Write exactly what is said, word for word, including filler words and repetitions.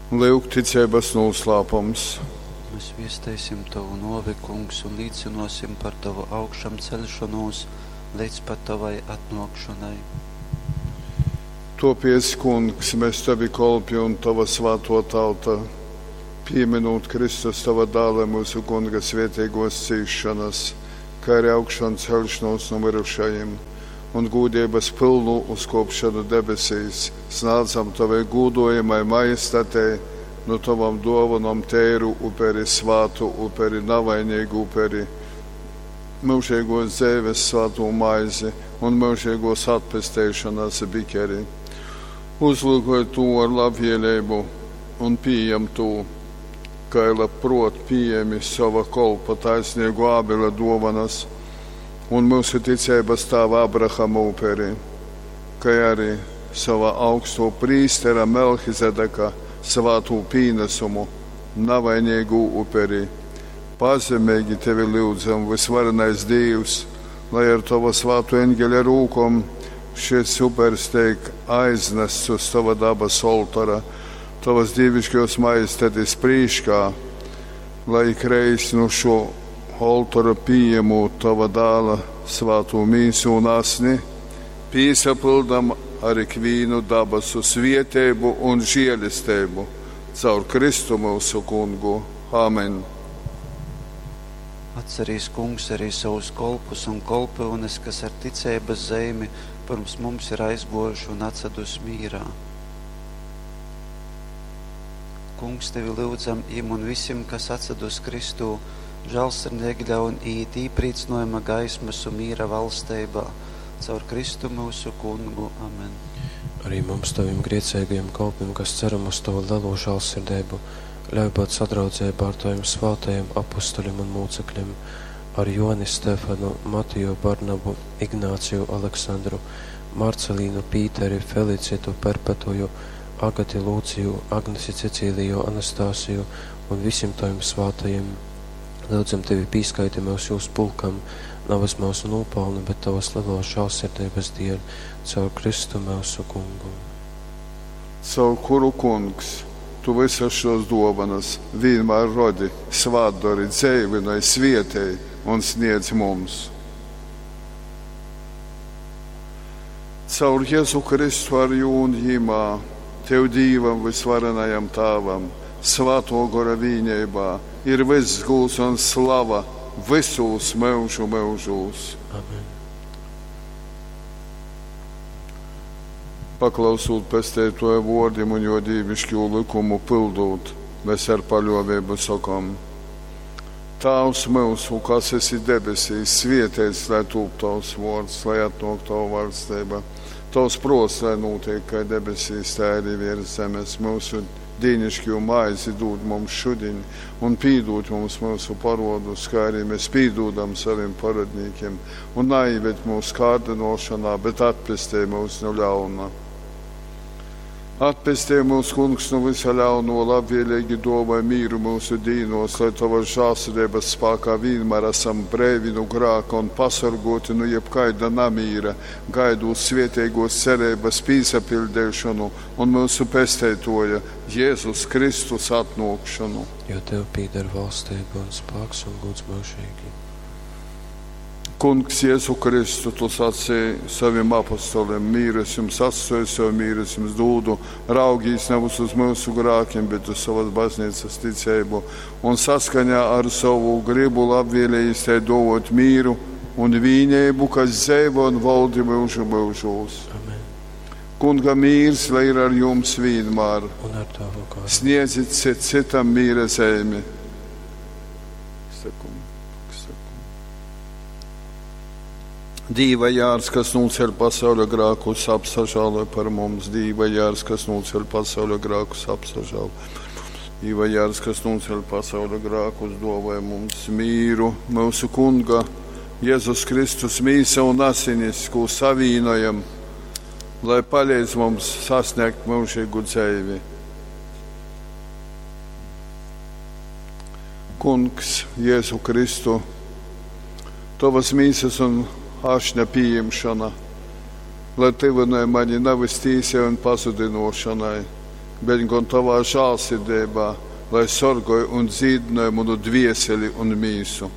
Lyuk ticeibas nūslāpums. Mēs viesteisim tovu nōvi, Kungs, un līcynōsim par tovu augšamceļšonūs leidz pat tovai atnōkšonai. Tōpēc, Kungs, mes tovi kolpi un tova svātō tauta, pīmynūt Kristus tova dāla myusu Kunga svēteigōs cīsšonas, kai arī augšanceļšonūs nu myrušajim un gūdeibas pylnu uzkōpšonu debesīs, snādzam tovai gūdojamai majestatei nu tovom dōvonom teiru uperi, svātu uperi, navaineigu uperi, myužeigōs dzeives svātū maizi un myužeigōs atpesteišonas bikeri. Uzlyukoj tū ar labvēleibu un pījam tū, kai labprōt pījēmi sova kolpa taisneigō Ābela dōvonas un myusu ticeibas tāva Abrahama uperi, kai arī sova augstō prīstera Melchizedeka svātū pīnasumu, navaineigū uperi. Pazemeigi tevi lyudzam, vysvarenais Dīvs, lai ar tova svātō eņgeļa rūkom šys upers teik aiznasts uz tova dabas oltora, tovas dīviškōs majestatis prīškā, lai ikreiz nu šo oltora pījemūt tova dāla svātū mīsu un asni, pīsapyldam ar ikvīnu dabasu svieteibu un žielesteibu caur Kristu myusu Kungu. Amen. Atcerīs, Kungs, arī savus kolpus un kolpyunes, kas ar ticeibas zeimi pirms mums ir aizgōjuši un atsadus mīrā. Kungs, tevi lyudzam, jim un visim, kas atsadus Kristū, žālsirdīgi ļaun iet īprīcinājuma gaismas un mīra valsteibā, caur Kristu myusu Kungu. Amen. Arī mums, tavim grēcīgajiem kalpiem, kas ceram uz tavu lielo žēlsirdību, ļauj būt sadraudzībā ar taviem svātajiem apustuļiem un mūcekļiem, ar Joni Stefanu, Matiju Barnabu, Ignāciju Aleksandru, Marcelīnu Pīteri, Felicitu Perpetuju, Agati Lūciju, Agnesi Cecīliju, Anastasiju un visiem taviem svātajiem. Lūdzam tevi pīskaiti mūs jūsu pulkam, nevis mūsu nopelnu, bet tavas lielos žēlsirdības dēļ, caur Kristu mūsu Kungu. Caur kuru, Kungs, tu visas šos dovanas vienmēr rodi, svātdori, dzeivinoj, svietēj un sniedz mums. Caur Jēzu Kristu ar jū un jimā, tev Dīvam vysvarenajam Tāvam, svāto gora vīneibā, ir vyss gūds un slava vysūs myužu myužūs. Amen. Paklausūt pesteitoja vōrdim un jo dīvišķū likumu pildūt, mēs ar paļōvību sokom: Tāvs myusu, kas esi debesīs, svietēts, lai tūp tavs vōrds, lai atnōk tava valstība. Tavs prōts, lai notiek kā debesīs, tā arī virs zemes. Mūsu dīnišķo maizi dod mums šodien un pīdod mums mūsu parodus, kā arī mēs pīdodam saviem parodnīkiem. Un naieved mūsu kārdinošanā, bet atpestī mūs no ļauna. Atpestī mūs, Kungs, no visa ļauno, labvēlīgi dāvāj mīru mūsu dīnos, lai tavas žēlsirdības spēkā vienmēr esam brīvi no grāka un pasargoti no jebkaida namīra, gaidot svētīgos cerības pīsapildīšanu un mūsu pesteitoja Jēzus Kristus atnākšanu. Jo tev pīder valstība un spēks un gods mūžīgi. Kungs, Jēzu Kristu, tu sacīji saviem apostoliem, mīru es jums atstoju, savu mīru es jums dūdu, raugīs nevis uz mūsu grākiem, bet uz savas baznīcas ticību, un saskaņā ar savu gribu labvēlījis te dovot mīru un vīnību, kas dzeivo un valdi mūžu mūžos. Amen. Kunga mīrs, lai ir ar jums vienmēr. Un ar tavu garu. Sniedzit cit citam mīra zeimi. Sakum, sakum. Dīva jārs, kas nūceļ pasauļa grākus, apsažāloj par mums. Dīva jārs, kas nūceļ pasauļa grākus, apsažāloj. Dīva jārs, kas nūceļ pasauļa grākus, dāvāj mums mīru, mūsu Kunga, Jēzus Kristus mīsa un asinis, ko savīnojam, lai palīdz mums sasniegt mūžīgu dzīvi. Kungs, Jēzu Kristu, tavas mīsas un ašņa pieņemšana, lai tuvināja mani nevis tīsai un pazudinošanai, bet gon tovā žālsirdeibā, lai sorgoj un dzīdynoj munu dvieseli un mīsu.